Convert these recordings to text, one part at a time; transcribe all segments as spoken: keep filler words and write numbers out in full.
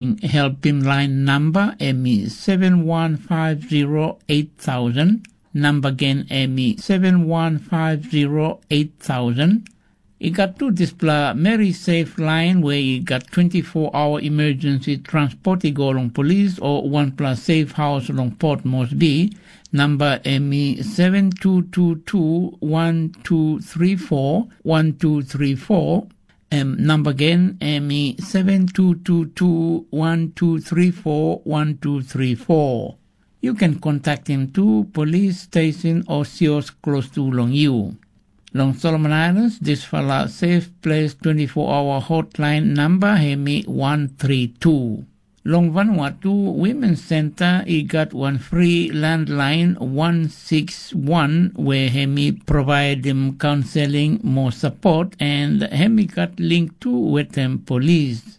Helpim lain namba em i seven one five zero eight thousand. Namba gen em i seven one five zero eight thousand. I gat tu dispela Meri Safe Lain we i gat twenty-four hour emergency transport i go long polis o wanpela safe house long Port Moresby. Namba em i seven two two two one two three four one two three four. Em namba gen em i seven two two two one two three four one two three four. You can contact him to police station or sios close to long you. Long Solomon Islands, dispela Safe Place twenty-four hour hotline number em i one three two. Long Vanuatu, Women's Center i gat wan free landline one six one where em i providim counseling, more support, and em i gat link tu wetem polis.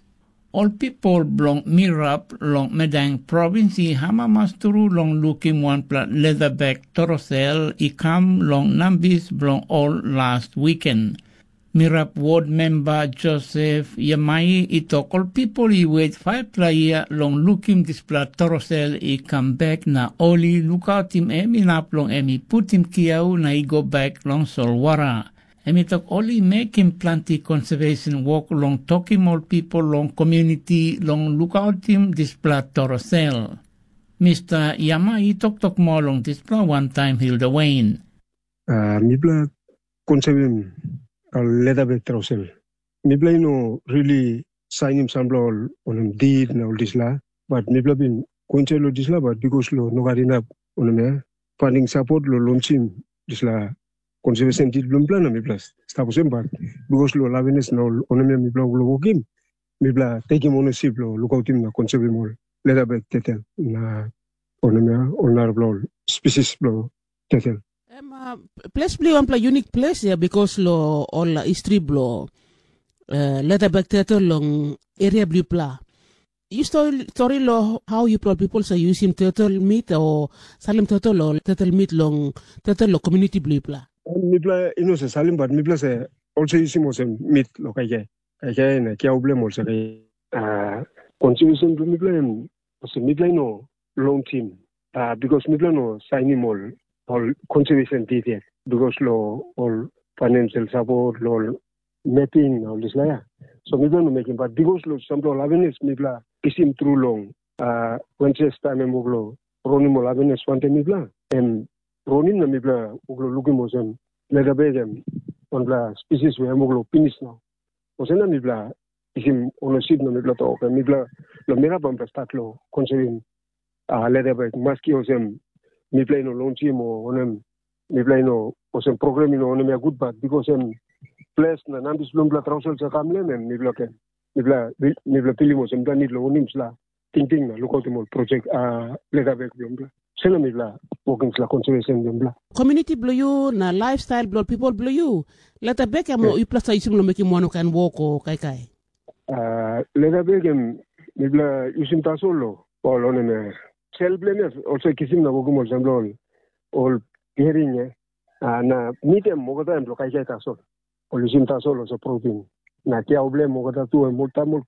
Ol pipel bilong Mirap long Medang provins i amamas tru long lukim wanpela leatherback torosel i kam long nambis bilong ol last wiken. Mirap ward memba Josef Yamai i tok ol pipel i wet faipela yia long lukim dispela torosel i kam bek na ol i lukautim em inap long em i putim kiau na i go bek long solwara. Em i tok ol i mekim planti konservesen wok long tokim ol pipel long komuniti long lukautim dispela torosel. Mista Yama i toktok moa long dispela wantaim Hilda Wain. Uh, mipela konsevim uh, leatherback trausel. Mipela i no really sainim sampela ol onem did na ol disla, but mipela bin kuinsa lo disla, but bikos lo no gat inap onem ya, funding support lo lonchim disla conservation did bilong mipela na mipela stap olsem, but bikos lo lavenes na ol onem ya mipela lo wokim, mipela tekim onesip lo lukautim na konsevim ol leatherback tetel na onem ya ol narapela ol species bilong tetel. Em uh, ples bilong wanpela unik ples ya bikos lo ol uh, history bilong uh, leatherback tetel long area bilipela. You story, story lo how you people sa using turtle meat or salim turtle or turtle meat long turtle lo community bilipela. Mipela ino se salim but mipela se also using olsem meat lo kaikai. Kaikai na kiau bilem olsem kaikai. Uh, contribution bilong mipela em olsem mipela ino long team. Uh, because mipela no sainim ol ol contribution did yet. Because lo ol financial support, lo ol mapping na ol dispela ya. So mipela no mekim, but bikos long sampela ol avenes mipela kisim tru long uh, Wenses taim em wok long ronim ol avenes wantaim mipela, em ronim na mipela wok long lukim olsem, letabek em wanpela species we em wok long pinis nau. Olsem na mipela kisim onosip na mipela tok, em mipela long mirap mipela stat long konsevim uh, letabek, maski olsem mipela i no lonchim o onem, mipela i no olsem program i no onem ya gut, bat bikos em ples na nambis bilong mipela trausel sa kam lem em mipela ken mipela mipela pilim olsem mipela nit long onim sla tingting na lukautim ol projek uh, letabek bilong mipela. Sela mipela wokim sla konservesen bilong mipela. Komuniti bilong yu na lifestyle bilong people bilong yu, letabek em yeah. Yupela sa yusim long mekim wan kain wok o kaikai. Uh, letabek em mipela yusim tasol lo ol onem ya. Sel bilem ya olsem kisim na wokim olsem lo ol ol hering ya. Uh, na mit em olgeta em lo kaikai tasol. Ol yusim tasol olsem protein. Na kiau bilem olgeta tu em ol tamol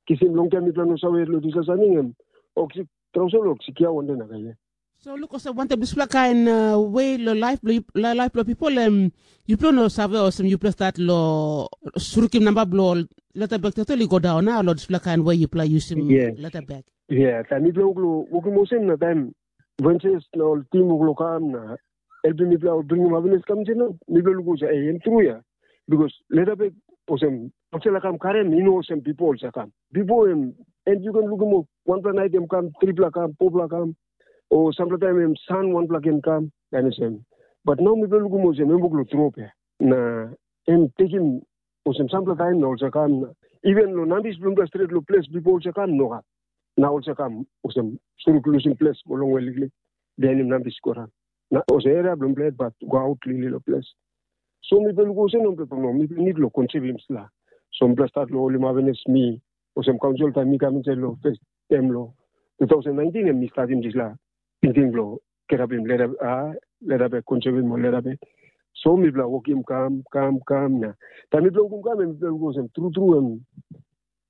kisim long taim mipela no save lo disa saning em oksi trausel oksi kiau wande na kaikai. So luk olsem wantaim dispela kain uh, we long laip bilong laip bilong pipel em yupela no save olsem yupela stat long surukim namba bilong leta bek total i go daun na long dispela kain we yupela yusim leta bek. Ia, taim mipela wok long wokim olsem na taim Venses na ol tim wok long kam na helpim mipela ol bringim happiness kam insait na mipela luk olsem ei em tru ya. Bikos leta bek olsem olsela kam karim i no olsem bipo olsem kam. Bipo em en yu ken lukim ol wanpela nait em kam tripela kam fopela kam o sampela taim em san wanpela ken kam, em olsem. Bat nau mipela lukim olsem em wok long trop ya. Na em tekim olsem sampela taim na olsem kam na even long nambis bilong mipela stret long ples bipo olsem kam no kam. Na olsem kam olsem suruk lusim ples go longwe liklik bihainim nambis go ran. Na olsem eria bilong mipela bat go aut liklik long ples. So mipela lukim olsem nau mipela no mipela nit long konsevim sla. So mipela stat long holim avenes mi olsem kaunsil taim mi kam insait long fes em long two thousand nineteen em mi statim dispela tingting bilong kirapim leta a leta bek konsevim ol leta bek. So mipela wokim kam kam kam na taim mipela wokim kam em mipela lukim olsem tru tru em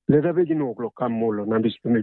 Let ave gin wok lo kam molo na bispela